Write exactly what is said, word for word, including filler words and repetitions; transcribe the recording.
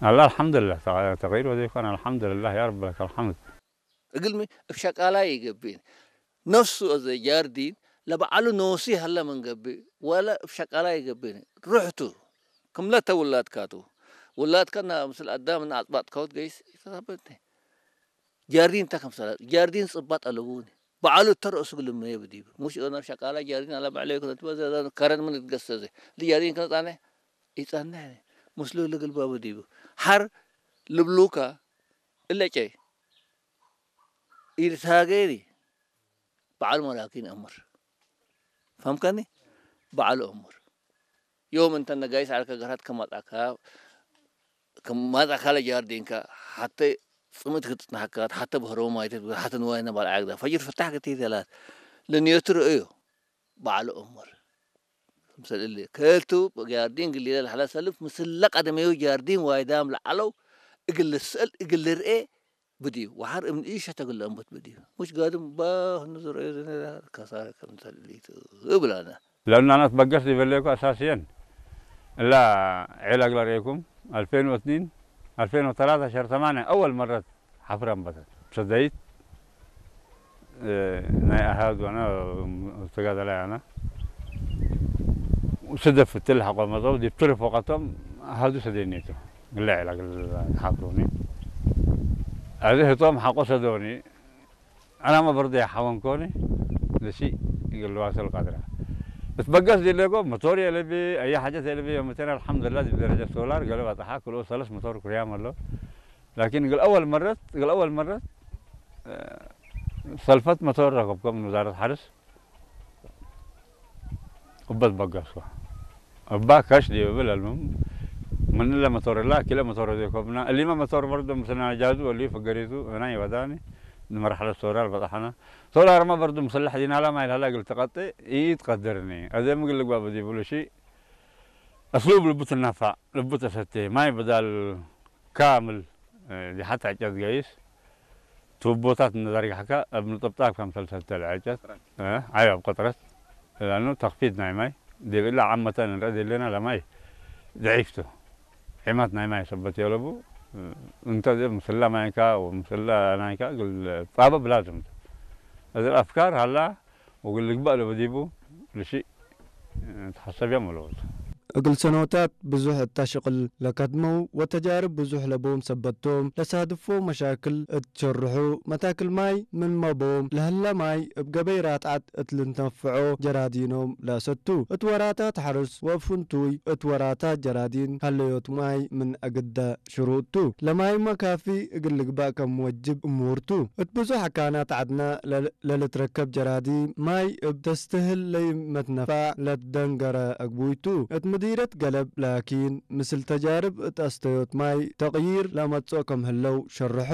አላ አልሐምዱሊላህ፣ ተቀይር ወዘይኮን አልሐምዱሊላህ ያ ረብ ለከል ሐምድ። እግልሚ እብ ሸቃላይ ኢገብእኒ። ነፍሱ አዜ ጃርዲን ለበዐሉ ኖሲ ሀለ ምን ገብእ፣ ወለ እብ ሸቃላይ ኢገብእኒ። ሩሕቱ ክምለተ ውላድካቱ። ውላድከና ምስል አዳም እና አጽባጥካሁት ገይስ ኢተሳበትኒ። ጃርዲን እንተ ከምሰለ፣ ጃርዲን ጽባጥ አለቡኒ። በዐሉ እተ ረእሱ ግልመየ ብዲቡ። ሙሽ እነ ሸቃላ ጃርዲን አለ በዕለዩ ክነትበ ዘ-፣ ከረን ምን እትገሰዘ። እሊ ጃርዲን ከነጻነ ኢጸንሕ። ምስሉ እሊ ግልባቡ ዲቡ። ሐር ልብሉካ እለ ጨይ ኢልትሃጌኒ በዐል መላኪን አምር። ፈህምከኒ? በዐል አምር። ዮም እንተ ነጋይስ ዐልከ ገርሀት ከማጽአካ፣ ከማጽአካ ለጃርዲንከ ሐተ ጽምእት ክትጽነሐካ፣ ሐተ በህሮ ማይተት፣ ሐተ ንዋይነ ባልዓ ግዳ። ፈጅር ፍታሕ ክትይ ተላት። ለንየቱ ርእዮ። በዐል ኦመር። ክምሰል እሊ። ከልቱ ጃርዲን ግሊለ ለሀለ ሰልፍ ምስለ ቀደሜሁ ጃርዲን ዋይዳም ለዐለው እግል ልስአል እግል ልርኤ ብድዩ። ወሐር እምን ኢሸተግል ለአንበት ብድዩ። ሙሽ ጋድም ባህ ንዝርኤ ዝነ ከሳረ ክምሰል እሊቱ እብላነ። ለእናናት በገስ ዲበሌኩ አሳስየን እላ ዔላግ ለርኤኩም አልፌን ወስኒን አልፌን ወተላተ ሸር ሰማንያ አወል መረት ሐፍረ አንበተት። ሰደይት፣ እ፣ ናይ አሃዱ አነ ተጋደላይ አነ። ስደፍ እትል ሐቆ መጸው ዲብ ትርፍ ወቀቶም አሃዱ ሰደይኔቱ። ግለ ዒላ ግለ ተሓፍሩኒ። አዚ ህቶም ሐቆ ሰዶኒ። አናመ በርደ ሐወንኮኒ። ለሺ እግል ዋሰል ቀድረ። እትበገስ ዲሌጎ መቶር የለቢ፣ አየ ሓጀት የለቢ፣ የመቴን አልሐምዱሊላህ ዲብ ደረጀት ሶላር ገለ በጽሐ፣ ክልኡ ሰለስ መቶር ኩርያም አለው። ላኪን እግል አወል መረት፣ እግል አወል መረት፣ እ፣ ሰልፈት መቶር ረከብኮ ምን ውዛረት ሐርስ። እበ ትበገስኮ። እባ ከሽ ዲብ እብል አልሙም፣ ምን እለ መቶር እላ፣ ኪለ መቶር ወዴኮብና። እሊመ መቶር በርዶ ምስልና ጃዙ ወልዩ ፍገሪቱ፣ እና ይወዳኒ፣ ንመርሐለት ሶላር በጽሐና። ሶላርመ በርዶ ምስለ ሕዚናላ ማይ ለሀላ እግል ትቀጤ ኢትቀድርኒ። አዜም እግል ልግባእ በዲቡ ለሺ፣ አስሉብ ልቡ ትነፋዕ፣ ልቡ ተሰቴ፣ ማይ በዳል ካምል፣ እ፣ ዲሐት ዕጨት ገይስ፣ ቱቦታት እንደ ዘርግሐከ እብ ንጥብጣብ ከምሰል ሰተ ለዕጨት፣ እ፣ አይ፣ እብ ቅጥረት፣ ለአኑ ተክፊት ናይ ማይ፣ ዲብ እለ ዓመተ እንረአ ዲሌና ለማይ ደዒፍ ቱ። ዒመት ናይ ማይ ሰበት የለቡ፣ እ፣ እንተ ዲብ ምስለ ማይካ ወምስለ ናይካ እግል ጻበብ ላዝም ቱ። እዝ አፍካር ሀላ፣ ወእግል ልግበእ ለበዲቡ ለሺእ ተሐሰብያም ወለወት። እግል ሰኖታት ብዙሕ እተ ሽቅል ለከድመው ወተጃርብ ብዙሕ ለቦም ሰበት ቶም፣ ለሳድፎ መሻክል እት ሸርሑ፣ መታክል ማይ ምንመ ቦም ለህለ ማይ እብ ገበይ ራትዓት እት ልንተንፍዖ ጀራዲኖም ለሰቱ፣ እት ወራታት ሐርስ ወእብ ፍንቱይ እት ወራታት ጀራዲን ሀለዮት ማይ ምን አግደ ሽሩጥ ቱ። ለማይመ ካፊ እግል ልግበእ ከም ወጅብ እሙር ቱ። እት ብዙሕ አካናት ዐድነ ለ-፣ ለልትረከብ ጀራዲን ማይ እብ ተስትህል ለይመትነፋዕ ለትደንገረ አግቡይ ቱ። እት ምዲረት ገለብ ላኪን፣ ምስል ተጃርብ እት አስተዮት ማይ ተቅዪር ለመጽኦ ከም ህለው ሸርሖ።